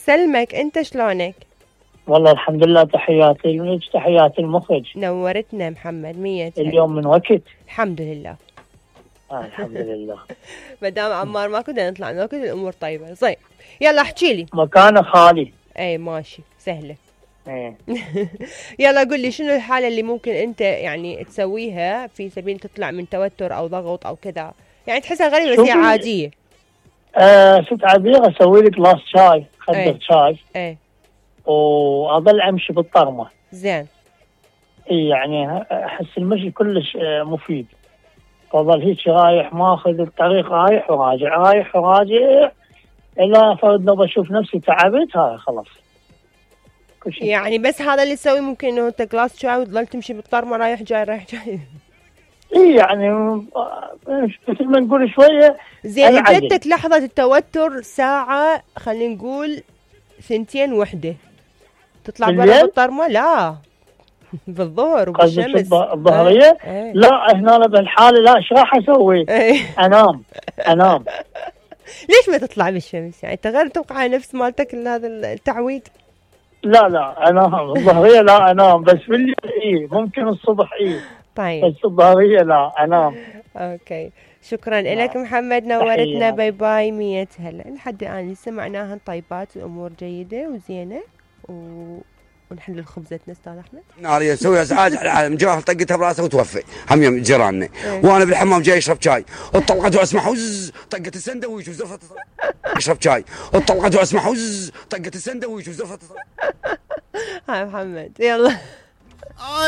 يسلمك، انت شلونك؟ والله الحمد لله، تحياتي لك، تحياتي المخرج. نورتنا محمد، 100 اليوم من وقت. الحمد لله. الحمد لله. مدام عمار ما كنا نطلع من وقت، الامور طيبه. طيب يلا احكي لي. مكانه خالي. اي ماشي سهله. ايه. يلا قل لي شنو الحاله اللي ممكن انت يعني تسويها في سبيل تطلع من توتر او ضغط او كذا، يعني تحسها غريبه بس هي عاديه. شفت عاديه، اسوي لي جلاس شاي، خدر شاي. ايه. واظل امشي بالطرمه. زين. اي يعني احس المشي كلش مفيد. فظل هيك رايح ماخذ الطريق، رايح وراجع رايح وراجع، الا فرد لو بشوف نفسي تعبت، هاي خلاص. يعني بس هذا اللي تسوي؟ ممكن انه انت جلاس شاي وتظل تمشي بالطرمه رايح جاي رايح جاي؟ اي يعني مثل ما نقول شويه. زين جتك لحظه التوتر ساعه، خلينا نقول 2 وحده، تطلع برا بالطرمه؟ لا بالظهر وبالشمس. الظهريه؟ لا هنا بالحاله لا، ايش راح اسوي؟ انام. ليش ما تطلع بالشمس؟ يعني تغير توقع نفس مالتك هذا التعويد. لا انام الظهريه، لا انام، بس بالليل ممكن الصبح طيب، بس الظهريه لا انام. اوكي، شكرا لك محمد، نورتنا. باي باي، 100 هلا. لحد الان سمعناها طيبات، الامور جيده وزينه ونحل خبزتنا استاذ احمد. ناريه نسوي ازعاج على العالم، جاهل طقتها براسه وتوفي هم يوم جيراننا. وانا بالحمام جاي اشرب شاي، اطلقت واسمع وز طقت السندويش وزرفت اشرب شاي، اطلقت واسمع وز طقت السندويش وزرفت. هاي محمد يلا.